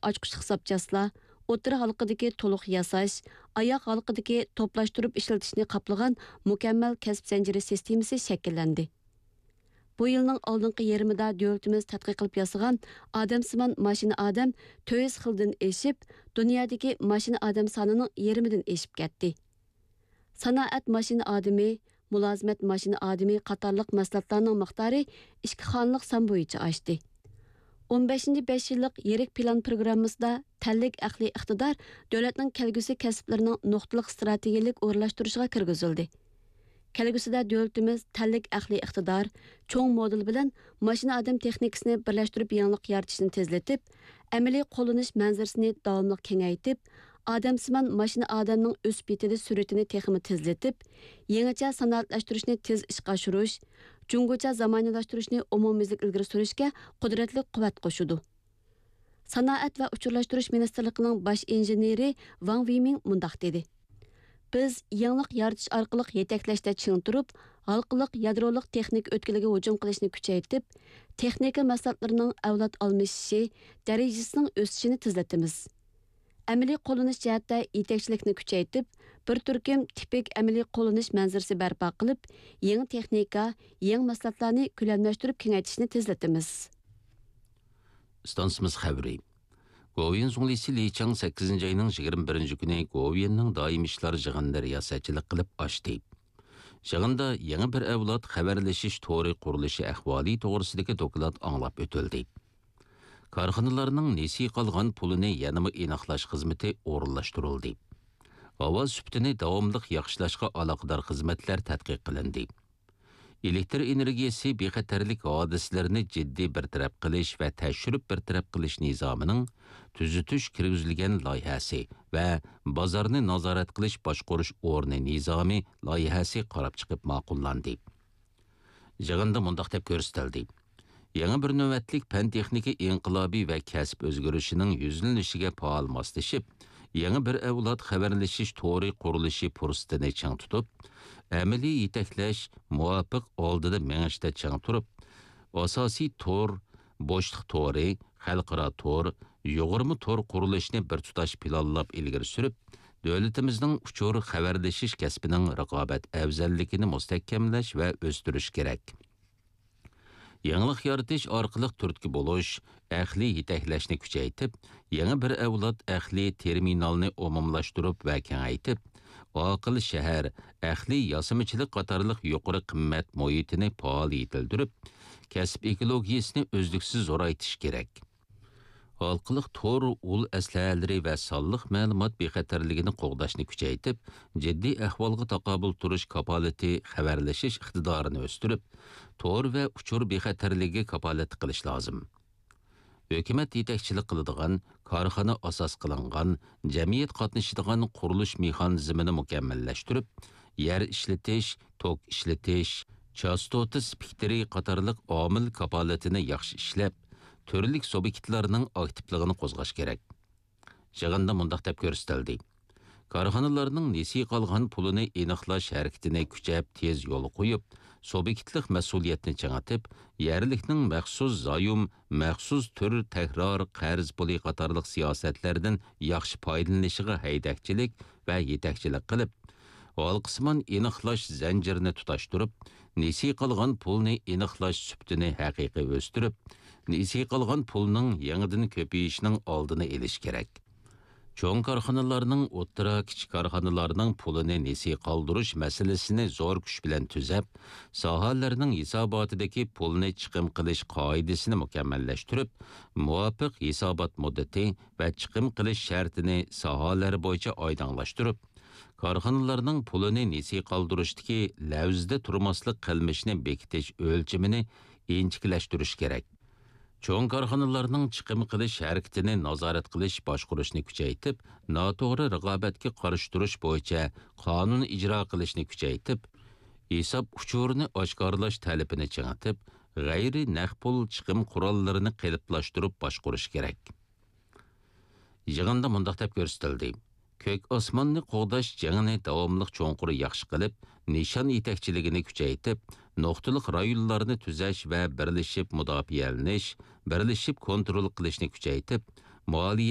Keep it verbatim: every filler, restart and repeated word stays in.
ئاچقۇچلۇق زاپچاسلار، ئوتتۇرا ھالقىدىكى تولۇق ياساش، ئاياغ ھالقىدىكى توپلاشتۇرۇپ ئىشلىتىشنى قاپلىغان مۇكەممەل كەسىپ زەنجىرى سىستېمىسى شەكىللەندى. بۇ يىلنىڭ ئالدىنقى يېرىمىدا دۆلىتىمىز تەتقىق قىلىپ ياسىغان ئادەمسىمان ماشىنا ئادەم تۆت يۈز خىلدىن ئېشىپ، دۇنيادىكى ماشىنا ئادەم سانىنىڭ يېرىمىدىن ئېشىپ كەتتى. سانائەت ماشىنا ئادىمى، مۇلازىمەت ماشىنا ئادىمى قاتارلىق مەھسۇلاتلارنىڭ مىقدارى ئىككى خانىلىق سان بويىچە ئاشتى. ئون بەشىنچى بەش يىللىق يىرىك پىلان پىروگراممىسىدا تەنلىك ئەقلىي ئىقتىدار دۆلەتنىڭ كەلگۈسى كەسىپلىرىنىڭ نۇقتىلىق ئىستراتېگىيەلىك ئورۇنلاشتۇرۇشىغا كىرگۈزۈلدى. كەلگۈسىدە دۆلىتىمىز تەنلىك ئەقلىي ئىقتىدار، چوڭ مودېل بىلەن ماشىنا ئادەم تېخنىكىسىنى بىرلەشتۈرۈپ يېڭىلىق يارىتىشنى تېزلىتىپ، ئەمەلىي قوللىنىش مەنزىرىسىنى داۋاملىق كېڭەيتىپ، ئادەمسىمان ماشىنا ئادەمنىڭ ئۆسۈپ يېتىلىش سۈرئىتىنى تېخىمۇ تېزلىتىپ، يېڭىچە سانائەتلەشتۈرۈشنى تېز ئىشقا ئاشۇرۇش، جۇڭگوچە زامانىۋىلاشتۇرۇشنى ئومۇميۈزلۈك ئىلگىرى سۈرۈشكە قۇدرەتلىك قۇۋۋەت قوشىدۇ. سانائەت ۋە ئۇچۇرلاشتۇرۇش مىنىستىرلىقىنىڭ باش ئىنژېنېرى ۋاڭ ۋېيمىڭ مۇنداق دېدى: بىز يېڭىلىق يارىتىش ئارقىلىق يېتەكلەشتە چىڭ تۇرۇپ، ھالقىلىق يادرولۇق تېخنىكا ئۆتكىلىگە ھۇجۇم قىلىشنى كۈچەيتىپ، تېخنىكا مەھسۇلاتلىرىنىڭ ئەۋلاد ئالمىشىشى دەرىجىسىنىڭ ئۆسۈشىنى تېزلىتىمىز. ئەمەلىي قوللىنىش جەھەتتە يېتەكچىلىكنى كۈچەيتىپ، بىر تۈركۈم تىپىك ئەمەلىي قوللىنىش مەنزىرىسى بەرپا قىلىپ، يېڭى تېخنىكا، يېڭى مەھسۇلاتلارنى كۆلەملەشتۈرۈپ كېڭەيتىشنى تېزلىتىمىز. ئىستانسىمىز خەۋىرى. گوۋۇيۈەن زۇڭلىسى لى چاڭ سەككىزىنچى ئاينىڭ يىگىرمە بىرىنچى كۈنى گوۋۇيۈەننىڭ دائىمىي ئىشلار يىغىنىدا رىياسەتچىلىك قىلىپ ئاچتى. يىغىندا يېڭى بىر ئەۋلاد خەۋەرلىشىش تورى قۇرۇلۇشى ئەھۋالى توغرىسىدىكى دوكلات ئاڭلاپ ئۆتۈلدى. كارخانىلارنىڭ نېسى قالغان پۇلىنى يەنىمۇ ئېنىقلاش خىزمىتى ئورۇنلاشتۇرۇلدى. ھاۋا سۈپىتىنى داۋاملىق ياخشىلاشقا ئالاقىدار خىزمەتلەر تەتقىق قىلىندى. ئېلېكتر ئېنېرگىيەسى بىخەتەرلىك ھادىسىلىرىنى جىددىي بىر تەرەپ قىلىش ۋە تەكشۈرۈپ بىر تەرەپ قىلىش نىزامىنىڭ تۈزىتىش كىرگۈزۈلگەن لايىھەسى ۋە بازارنى نازارەت قىلىش باشقۇرۇش ئورنى نىزامى لايىھەسى قاراپ چىقىپ ماقۇللاندى. يىغىندا مۇنداق دەپ كۆرسىتىلدى: يېڭى بىر نۆۋەتلىك پەن-تېخنىكا ئىنقىلابى ۋە كەسىپ ئۆزگىرىشىنىڭ يۈزلىنىشىگە پائال ماسلىشىپ، يېڭى بىر ئەۋلاد خەۋەرلىشىش تورى قۇرۇلۇشى پۇرسىتىنى چىڭ تۇتۇپ، ئەمەلىي يېتەكلەش، مۇۋاپىق ئالدىدا مېڭىشتا چىڭ تۇرۇپ، ئاساسىي تور، بوشلۇق تورى، خەلقئارا تور، يۇغۇرما تور قۇرۇلۇشىنى بىر تۇتاش پىلانلاپ ئىلگىرى سۈرۈپ، دۆلىتىمىزنىڭ ئۇچۇر خەۋەرلىشىش كەسپىنىڭ رىقابەت ئەۋزەللىكىنى مۇستەھكەملەش ۋە ئۆستۈرۈش كېرەك. يېڭىلىق يارىتىش ئارقىلىق تۈرتكە بولۇش، ئەقلىي يېتەكلەشنى كۈچەيتىپ، يېڭى بىر ئەۋلاد ئەقلىي تېرمىنالنى ئومۇملاشتۇرۇپ ۋە كېڭەيتىپ، ئاقىل شەھەر، ئەقلىي ياسىمىچىلىق قاتارلىق يۇقىرى قىممەت مۇھىتىنى پائال يېتىلدۈرۈپ، كەسىپ ئېكولوگىيەسىنى ئۈزلۈكسىز زورايتىش كېرەك. ھالقىلىق تور ئۇل ئەسلىھەلىرى ۋە سانلىق مەلۇمات بىخەتەرلىكىنى قوغداشنى كۈچەيتىپ، جىددىي ئەھۋالغا تاقابىل تۇرۇش كاپالىتى خەۋەرلىشىش ئىقتىدارىنى ئۆستۈرۈپ، تور ۋە ئۇچۇر بىخەتەرلىكىگە كاپالەتلىك قىلىش لازىم. ھۆكۈمەت يېتەكچىلىك قىلىدىغان، كارخانا ئاساس قىلىنغان، جەمئىيەت قاتنىشىدىغان قۇرۇلۇش مېخانىزمىنى مۇكەممەللەشتۈرۈپ، يەر ئىشلىتىش، توك ئىشلىتىش، چاستوتا سپېكتىرى قاتارلىق ئامىل كاپالىتىنى ياخشى ئىشلەپ، تۈرلۈك سۇبيېكتلارنىڭ ئاكتىپلىقىنى قوزغاش كېرەك. يىغىندا مۇنداق دەپ كۆرسىتىلدى: كارخانىلارنىڭ نېسى قالغان پۇلىنى ئېنىقلاش ھەرىكىتىنى كۈچەپ، تېز يولغا قويۇپ، سۇبيېكتلىق مەسئۇلىيەتنى چىڭىتىپ، يەرلىكنىڭ مەخسۇس زايوم، مەخسۇس تۈر تەكرار قەرز پۇلى قاتارلىق سىياسەتلەردىن ياخشى پايدىلىنىشىغا ھەيدەكچىلىك ۋە يېتەكچىلىك قىلىپ، ھالقىسىمان ئېنىقلاش زەنجىرىنى تۇتاشتۇرۇپ، نېسى قالغان پۇلنى ئېنىقلاش سۈپىتىنى ھەقىقىي ئۆستۈرۈپ، نېسى قالغان پۇلنىڭ يېڭىدىن كۆپىيىشىنىڭ ئالدىنى ئېلىش كېرەك. چوڭ كارخانىلارنىڭ، ئوتتۇرا، كىچىك كارخانىلارنىڭ پۇلىنى نېسى قالدۇرۇش مەسىلىسىنى زور كۈچ بىلەن تۈزەپ، ساھەلەرنىڭ ھېساباتىدىكى پۇلنى چىقىم قىلىش قائىدىسىنى مۇكەممەللەشتۈرۈپ، مۇۋاپىق ھېسابات مۇددىتى ۋە چىقىم قىلىش شەرتىنى ساھەلەر بويىچە ئايدىڭلاشتۇرۇپ، كارخانىلارنىڭ پۇلىنى نېسى قالدۇرۇشتىكى لەۋزىدە تۇرماسلىق قىلمىشىنى بېكىتىش ئۆلچىمىنى ئىنچىكىلەشتۈرۈش كېرەك. چوڭ كارخانىلارنىڭ چىقىم قىلىش ھەرىكىتىنى نازارەت قىلىش، باشقۇرۇشنى كۈچەيتىپ، ناتوغرا رىقابەتكە قارشى تۇرۇش بويىچە قانۇن ئىجرا قىلىشنى كۈچەيتىپ، ھېساب ئۇچۇرىنى ئاشكارىلاش تەلىپىنى چىڭىتىپ، غەيرىي نەق پۇل چىقىم قوراللىرىنى قېلىپلاشتۇرۇپ باشقۇرۇش كېرەك. يىغىندا مۇنداق دەپ كۆرسىتىلدى: كۆك ئاسماننى قوغداش جېڭىنى داۋاملىق چوڭقۇر ياخشى قىلىپ، نىشان يېتەكچىلىكىنى كۈچەيتىپ، نۇقتىلىق رايونلارنى تۈزەش ۋە بىرلىشىپ مۇداپىئەلىنىش، بىرلىشىپ كونترول قىلىشنى كۈچەيتىپ، مالىيە